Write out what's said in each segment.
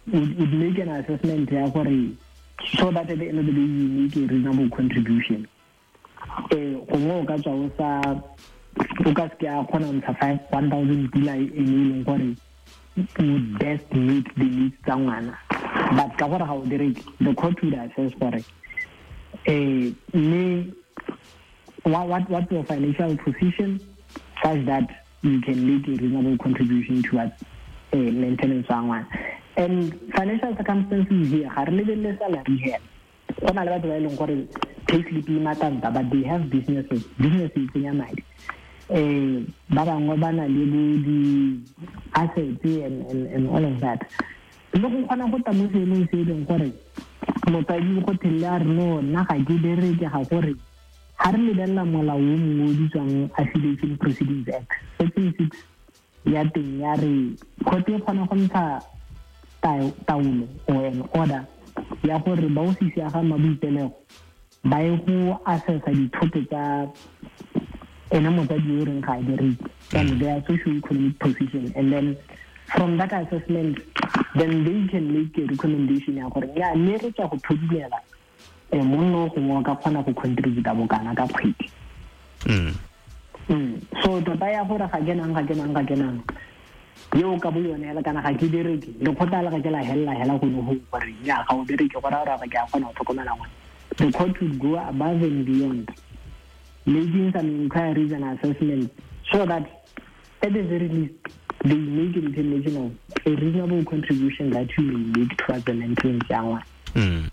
Would make an assessment ya gore, so that at the end of the day you make a reasonable contribution. Gongwe o ka tswa o sa, o ka seke a kgona ntsha five one thousand pula e e leng gore would best meet the needs tsa ngwana, but ka gore ga o bereke, the court would assess gore mme what's your financial position such that you can make a reasonable contribution towards maintenance wa ngwana. And financial circumstances here, ga re lebelele salary hela. Go na le batho ba e leng gore payslip e matanta, but they have businesses. Business e tsenya madi. Ba bangwe ba na le bo di-assets and all of that. Le go kgona go tla mo seemong se e leng gore motsadi go thelele a re, "No, nna ga ke bereke." Ga gore ga re lebelela molao o mongwe o bitswang Affiliation Proceedings Act, section 6 ya teng ya re court e kgona go ntsha taolo or an order ya gore ba ofisi ya ga maboipelego ba ye go assessa dithoto tsa ene motsadi yo o reng ga a bereke and their socio-economic position, and then from that assessment then they can make a recommendation ya gore ya mme re tswa go phodilela monna o gongwe o ka kgona go contributa bokana ka kgwedi. So tota ya gore ga kenang, ga kenang, ga kenang yeo ka bo yone hela, kana ga ke bereke, lekgotla le ga ke la helela hela gone go gore nya ga o bereke, go raya gore ga ke a kgona go tlhokomela ngwana. The court would go above and beyond making some inquiries and assessments so that at the very least they make a determination of a reasonable contribution that you may make towards the maintenance ya ngwana.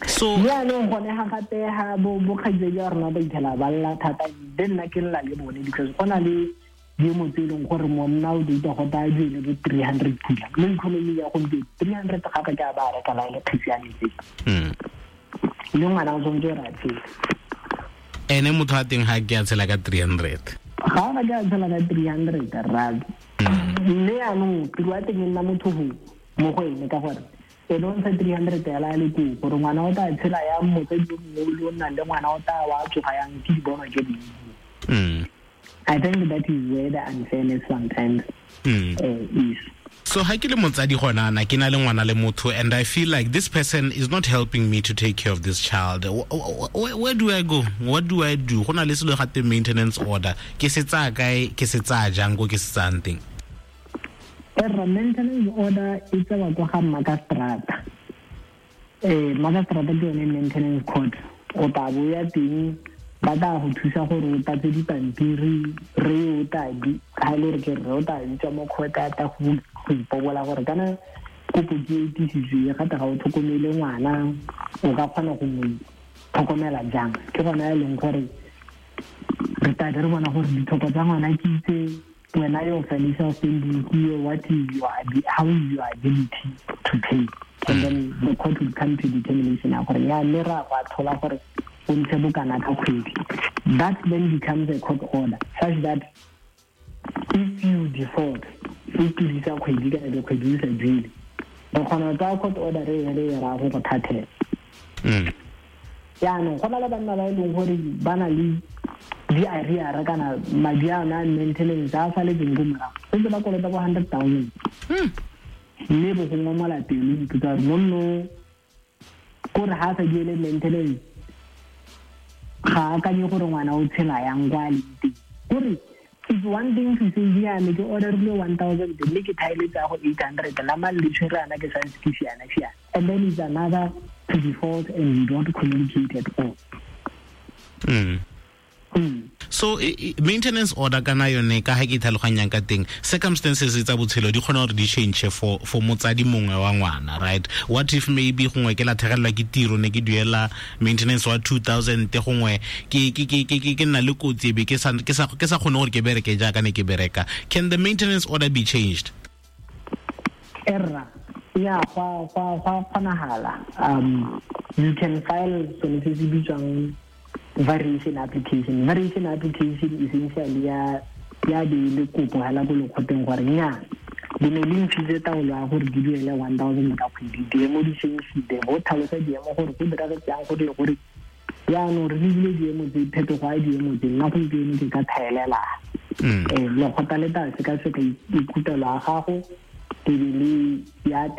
So jaanong gone ga gape ga bo kgaitsedi ya rona ba itlhela ba lla thata, le nna ke lla le bone, because go na le diemo tse e leng gore monna o data go taya duele bo 300 pula mo economy ya gompieno. 300 gape ke a ba reka la e le kgetsi ya metsi. Le ngwana o tshwanetse gore a tshele. Ene motho a teng ga ke a tshela ka 300. Ga ona ke a tshela ka 300 rra. Mme yaanong tiro ya teng e nna motho go mo go ene, ka gore ene o ntsha 300 hela a le koo, gore ngwana o tla tshela yang, motsadi o mongwe le o nnang le ngwana o tla wa tsoga yang, ke di bonwa ke dingwe. I think that is where the unfairness sometimes is. So ha ke le motsadi gona ana ke na le ngwana le motho, and I feel like this person is not helping me to take care of this child, where do I go? What do I do? Go na le selo gate maintenance order, ke se tsaya kae, ke se tsaya jang, ko ke se tsayang teng? Erra, maintenance order e tsewa kwa ga makastrata. Makastrata ke yone maintenance court. O tla bo ya teng, ba tla go thusa gore o tlatse dipampiri. Re o tla di ga e le gore ke rre, o tla bitsa mo court, a tla go ipobola gore kana kopo ke e tisitswe gate ga o tlhokomele ngwana, o ka kgona go mo tlhokomela jang? Ke gona e leng gore re tla be re bona gore ditlhoko tsa ngwana ke itse wena, your financial standing here, what is your how is your ability to pay, and then the court will come to determination ya gore ya mme ra go atlhola gore o ntshe bokana ka kgwedi. That then becomes a court order such that if you default, o tlodisa kgwedi kana dikgwedi o sa duele, re kgona go tsaya court order re e re e raya go go thathela. Jaanong go na le banna ba e leng gore ba na le di-arrear kana madi a ona a maintenance a saletseng ko morago, setse ba kolota bo 100,000. Mme bo go ngomola pelo, ipotsa gore monno kore ga a sa duele maintenance, ga a akanye gore ngwana o tshela yang kwa a leng teng. Kore it's one thing to say, "Diame ke orderile 1000, mme ke thaeletse ya go 800 la mang le tshwere ana ke santse ke siana siana," and then it's another to default and you don't communicate at all. So maintenance order kana yone, ka ha ke tlhaloganyang ka teng, circumstances tsa botshelo di kgona gore di change for motsadi mongwe wa ngwana, right? What if maybe gongwe ke latlhegelwa ke tiro, ne ke duela maintenance wa 2000, gongwe ke nna le kotsi, e be ke sa kgone gore ke bereke jaaka ne ke bereka? Can the maintenance order be changed? Erra, ya, gwa kgonagala. You can file sone se se bitswang variation application. Variation application essentially ya be le kopo hela ko lekgoteng gore nya di ne le ntshitse taolo ya gore di duele 1000 ka kgwedi, diemo di change-ile, go tlhalosa diemo gore go diragetse yang gore le gore jaanong re lebile diemo tse, phetogo ya diemo tse, nna gompieno ke ka thaelela. Lekgotla le tla sekaseka ikutlwelo ya gago, e be le ya.